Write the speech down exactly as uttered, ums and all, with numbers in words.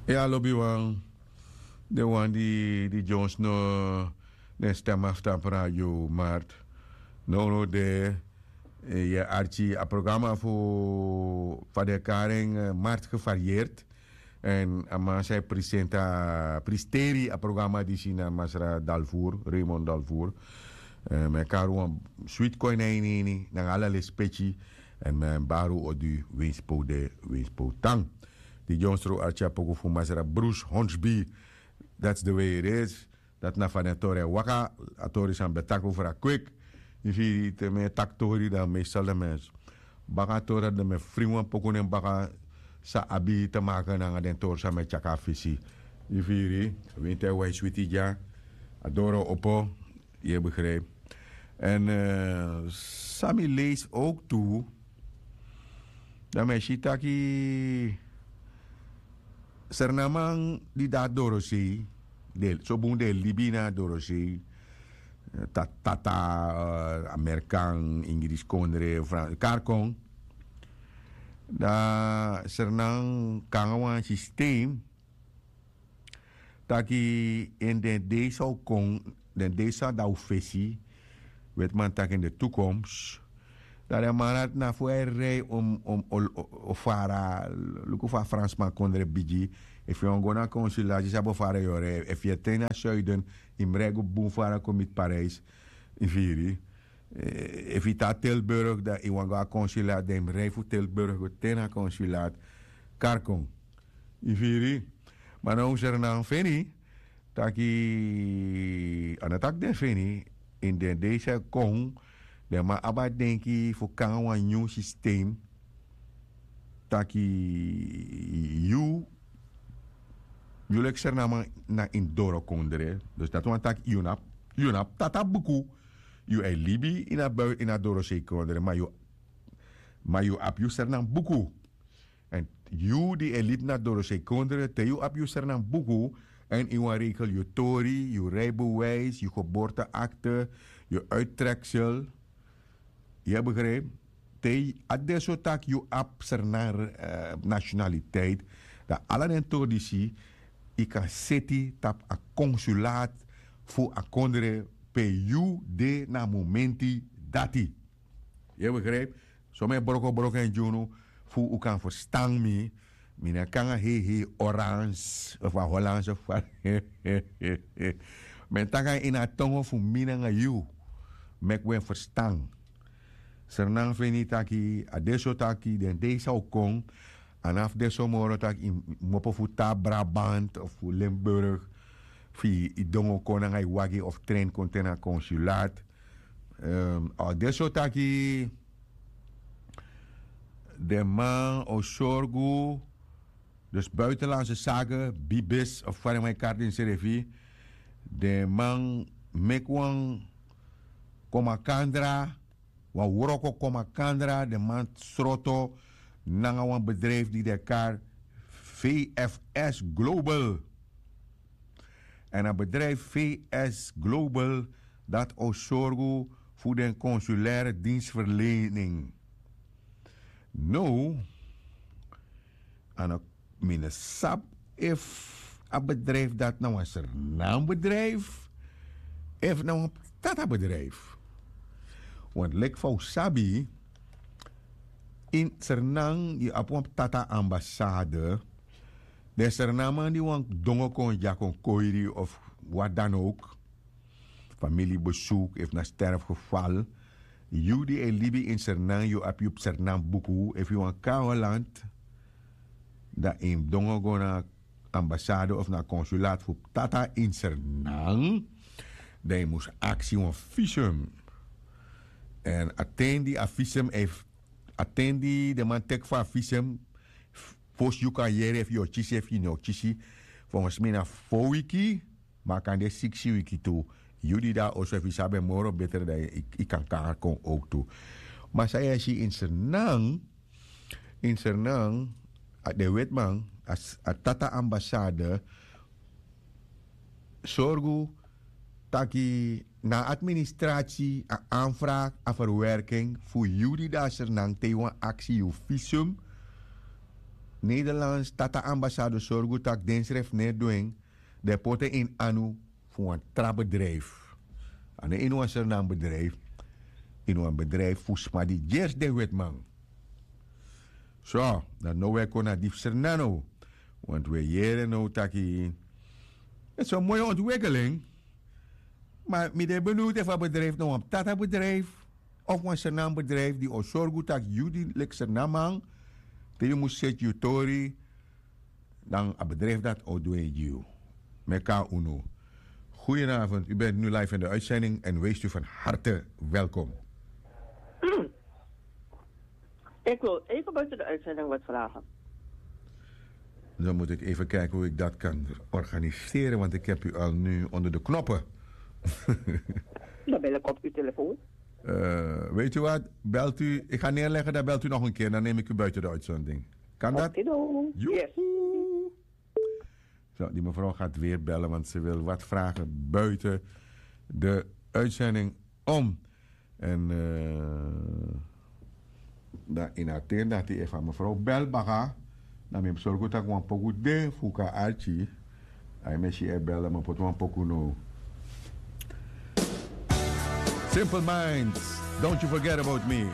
Ya lobiwan, den wan di di dyonsno den stem aftan pradio mart. Nownow de, yu e arki a programa fu fa den e kari en, mart gevarieerd. Èn a man san e prisenta pristeri a programa disi na masra dalvour, raymond dalvour. Mi e kari wan switi kon ini a ini ini nanga ala lespeki. Èn mi e bari un odi winsi pe un de, winsi pe un tan. Di dyonsro arki a poku fu masra bruce honsby. That's the way it is. Dati na fa den tori e waka. A tori san mi ben taki over a kwik. Yu firi te mi e taki tori dan meestal den mensi baka a tori dati den mi e fringi wan poku nen baka. San abi te maka nanga den tori san mi e tyaki a fisi. Yu firi winti e wai switi dya. A doro opo. Yu e begrijpi. Èn san mi leisi owk tu, dan mi e si taki sernaman di de na dorosei, sobun den e libi ini a dorosei, tata, amerikan, ingriskondre, kari kon. Dan sernan kon nanga wan sistem taki ini den dei san o kon, den dei san dan o fesi, wetiman taki ini de tukoms. Dan den man dati na fu e rei o fara. Luku fu a fransman kondre bigi. Efu yu wani go na konsulasi sabi o fara yu o rei efu yu e ten na suiden, yu mus rei go bun fara kon miti parijs. Yu firi? Efu yu tan na tilburg dan yu wani go na konsulasi dan yu mus rei fu tilburg go ten na konsulasi. Kari kon. Yu firi? Ma now sernan feni taki a no taki den feni. Ini den dei san e kon, den man abi a denki fu kon nanga wan nyun sistem. Taki yu yu leki sernaman na ini dorokondre. Dus dati wani taki yu no abi tata buku. Yu e libi ini a dorosei kondre ma yu ma yu abi yu sernan buku. Èn yu di e libi na dorosei kondre te yu abi yu sernan buku, èn yu wani rekel yu tori, yu reibewijs, yu geborteakte, yu uittreksel. Yu e begrijpi? Te a de so tak' yu abi sernan nationaliteit, dan ala den tori disi yu kan seti tapu a konsulaat fu a kondre pe yu de na a momenti dati. Yu e begrijpi? So mi e brokobroko en gi unu fu un kan ferstan mi. Mi no e kon nanga heihei orans of a holanse fari. Mi e taki na ini a tongo fu mi nanga yu. Meki un e ferstan. Sernan feni taki a de so taki den dei san o kon, a no abi de so moro tak' yu mus opo fu tan na brabant of fu limburg, fu yu dongo kon nanga yu wagi of trein kon te na konsulaat. A o de so taki den man o sorgu, dus buitenlandse sake, bibis of fa den man e kari den srefi. Den man meki wan komakandra, wan wroko komakandra, den man sroto nanga wan bedrijfi di den e kari vfs global. Èn a bedrijfi vfs global dati o sorgu fu den konsulaire dinsverlening. Now a no mi no sabi efu a bedrijfi dati na wan sernan bedrijfi efu na wan tata bedrijfi. Want leki fa un sabi, ini sernan yu abi wan tata ambasade. Den sernan man di wani dongo kon dya kon koiri of wat dan ook, famili besoek efu na sterfgeval. Yu di e libi ini sernan yu abi yu sernan buku efu yu wani kon na holland, dan yu mus dongo go na ambasade of na konsulaat fu tata ini sernan. Dan yu mus aksi wan visum. Èn a ten di a visum e a ten di den man teki fu a visum, fosi yu kan yere efu yu o kisi efu yu no o kisi. Fongesi mi na fo wiki. Ma a kan de siksi wiki tu. Yu di de na oso efu yu sabi en moro betre dan yu kan kari kon owk tu. Ma san yu e si ini sernan, ini sernan, den wetiman, a tata ambasade sorgu taki na a administrasi a anfraki a ferwerking fu yu di de na sernan te yu wani aksi yu visum. Nederlands tata ambasado sorgu tak' den srefi no e du en. Den poti en ini anu fu wan tra bedrijfu. A no ini wan sernam bedrijfu. Ini wan bedrijfu fu sma di gersi den wetiman. So, dan no wi e kon na di fu sernam now. Want wi e yere now taki, en so moi ontwikkeling. Ma mi de beniwd efu a bedrijfu na wan tata bedrijfu of wan sernam bedrijfu di o sorgu tak' yu di leki sernamman, te yu mus seti yu tori, dan a bedrijfu dati o du en gi yu. Meki a unu. Goedenavond, u bent nu live in de uitzending en wees u van harte welkom. Ik wil even buiten de uitzending wat vragen. Dan moet ik even kijken hoe ik dat kan organiseren, want ik heb u al nu onder de knoppen. Dan bel ik op uw telefoon. Eh, weet u wat? Belt u, ik ga neerleggen, dan belt u nog een keer. Dan neem ik u buiten de uitzending. Kan dat? Okido. Yes. Joehoe. Zo, die mevrouw gaat weer bellen, want ze wil wat vragen buiten de uitzending om. En eh, dan in a ten dati efu a mevrouw bel baka, dan mi mus sorgu tak' wan poku de fu kan arki. A e mesi e bel, dan mi poti wan poku now. Simple Minds, don't you forget about me.